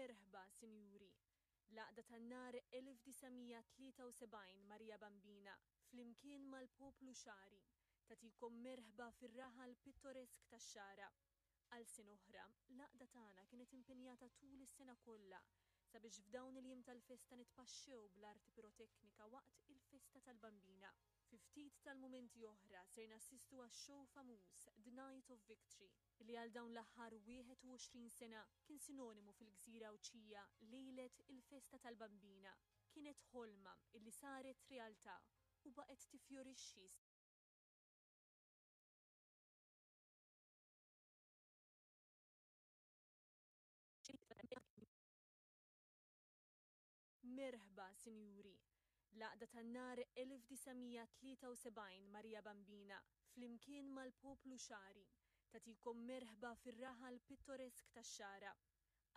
Merħba, Sinjuri! L-Għaqda tan-Nar 1973 Maria Bambina, flimkien mal-poplu Xagħri, tagħtikom merħba fir-raħal pittoresk tax-Xagħra. Għal sena oħra, l-għaqda tagħna kienet impenjata tul is-sena kollha sabiex f'dawn il-jiem tal-festa nitpaxxew bl-arti piroteknika waqt il-festa tal-Bambina. Fi ftit tal-mumenti oħra ser nassistu għax-show famuż The Night of Victory, li għal dawn l-aħħar 21 sena kien sinonimu fil-gżira Għawdxija lejlet il-festa tal-Bambina. Kienet ħolma illi saret realtà u baqgħet tifjorixxi Merħba, Sinjuri! L-Għaqda tan-Nar 1973 Maria Bambina, flimkien mal-poplu Xagħri, tagħtikom merħba fir-raħal pittoresk tax-Xagħra.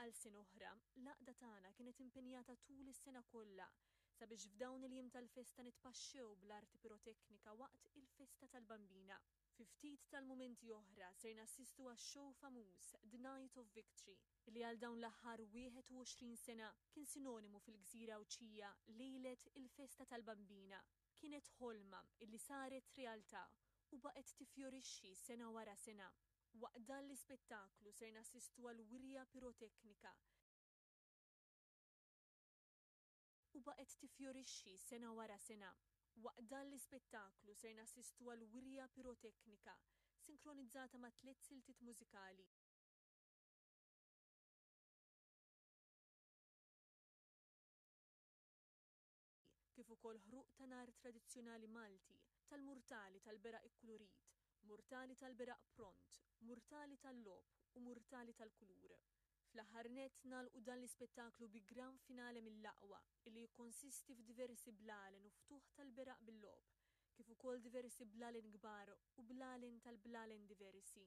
Għal sena oħra, l-għaqda tagħna kienet impenjata tul is-sena kollha sabiex f'dawn il-jiem tal-festa nitpaxxew bl-arti piroteknika waqt il-festa tal-Bambina. Fi ftit tal-mumenti oħra ser nassistu għax-show famuż The Night of Victory, li għal dawn l-aħħar 21 sena kien sinonimu fil-gżira Għawdxija lejlet il-festa tal-Bambina. Kienet ħolma illi saret realtà u baqgħet tifjorixxi sena wara sena. Waqt dan l-ispettaklu ser nassistu għal wirja piroteknika u baqgħet tifjorixxi sena wara sena. Waqt dan l-ispettaklu ser nassistu għal wirja piroteknika sinkronizzata ma' tliet siltiet mużikali, kif ukoll ħruq ta' nar tradizzjonali Malti, tal-murtali tal-beraq ikkulurit, murtali tal-beraq pront, murtali tal-logħob u murtali tal-kulur. Fl-aħħar nett nagħlqu dan l-ispettaklu bi gran finale mill-aqwa illi jikkonsisti f'diversi blalen u ftuħ tal-beraq bil-logħob, kif ukoll diversi blalen kbar u blalen tal-blalen diversi.